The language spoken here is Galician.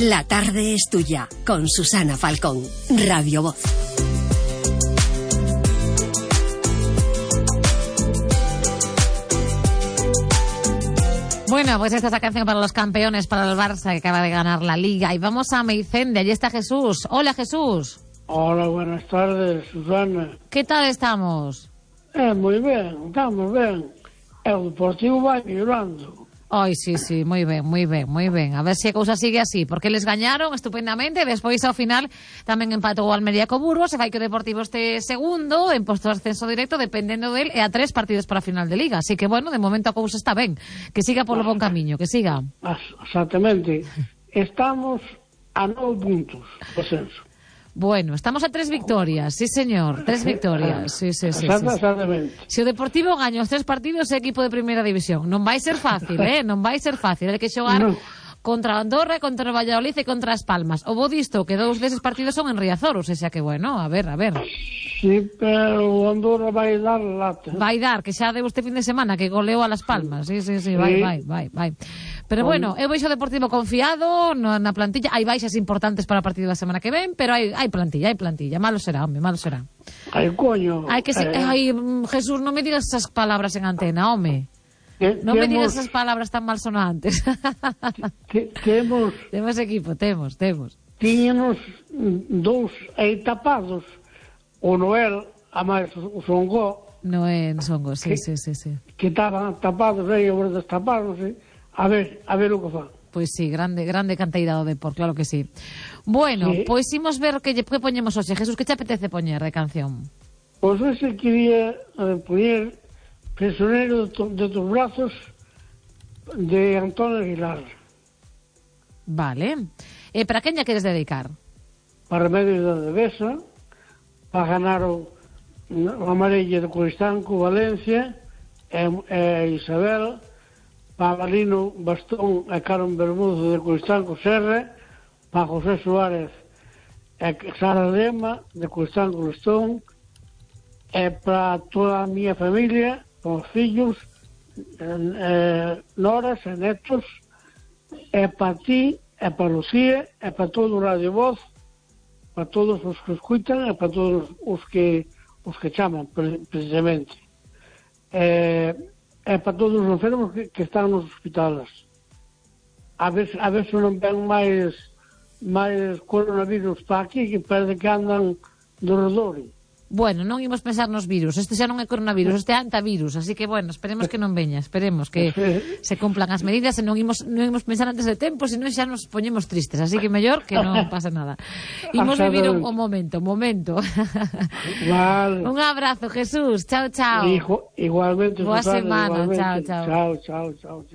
La tarde es tuya, con Susana Falcón, Radio Voz. Bueno, pues esta es la canción para los campeones, para el Barça, que acaba de ganar la Liga. Y vamos a Meicende, allí está Jesús. Hola, Jesús. Hola, buenas tardes, Susana. ¿Qué tal estamos? Moi ben, estamos ben. O Deportivo vai mellorando. Ai, sí, moi ben. A ver se a cousa sigue así, porque les gañaron estupendamente, despois ao final tamén empatou o Almería co Burgos, e fai que o Deportivo este segundo, en posto de ascenso directo, dependendo del, e a 3 partidos para a final de Liga. Así que, bueno, de momento a cousa está ben. Que siga polo bon camiño, que siga. Exactamente. Estamos a 9 puntos do ascenso. Bueno, estamos a 3 victorias, sí señor, 3 victorias, sí. Exactamente. Se o Deportivo gaña os 3 partidos é equipo de primeira división, non vai ser fácil, non vai ser fácil, hai que xogar contra Andorra, contra o Valladolid e contra as Palmas. O bo disto que 2 deses partidos son en Riazor, ou sea que bueno, a ver. Sí, pero o Andorra vai dar lata. Vai dar, que xa deu este fin de semana que goleou a Las Palmas, sí, vai. Pero bueno, eu veixo o Deportivo confiado na plantilla. Hai baixas importantes para o partido da semana que ven, pero hai plantilla. Malo será, home, malo será. Ai, coño. Jesús, non me digas esas palabras en antena, home. Non me digas esas palabras tan malsonantes. Temos equipo, temos. Tiñamos 2 aí tapados. O Noel, a máis o Songo. Noel, Songo, sí. Que estaban tapados aí, agora destapados, A ver o que fan. Pois sí, grande canteira do Depor, claro que sí. Bueno, sí. Pois imos ver que poñemos hoxe. Jesús, que te apetece poñer de canción? Pois hoxe quería poñer Prisionero de tus brazos de Antonio Aguilar. Vale. Para quen lle queres dedicar? Para Remedios da Devesa, para ganar o Amarella de Coristanco, Valencia, e Isabel, para Balino Bastón e Carmen Bermudo de Coristanco Serra, para José Suárez e Sara Lema de Coristanco Lestón, e para toda a miña familia, con os fillos, noras e netos, e para ti, e para Lucía, e para todo o Radio Voz, para todos os que escutan e para todos os que chaman, precisamente. E para todos os enfermos que están nos hospitales. A ver se non ven máis coronavirus para aquí, que parece que andan do redor. Bueno, non imos pensar nos virus. Este xa non é coronavirus, este é antivirus. Así que, bueno, esperemos que non veña. Esperemos que se cumplan as medidas e non imos pensar antes de tempo, senón xa nos poñemos tristes. Así que mellor que non pase nada. Imos vivir un momento. Vale. Un abrazo, Jesús. Chao. Igualmente. Boa semana. Chao. Chao.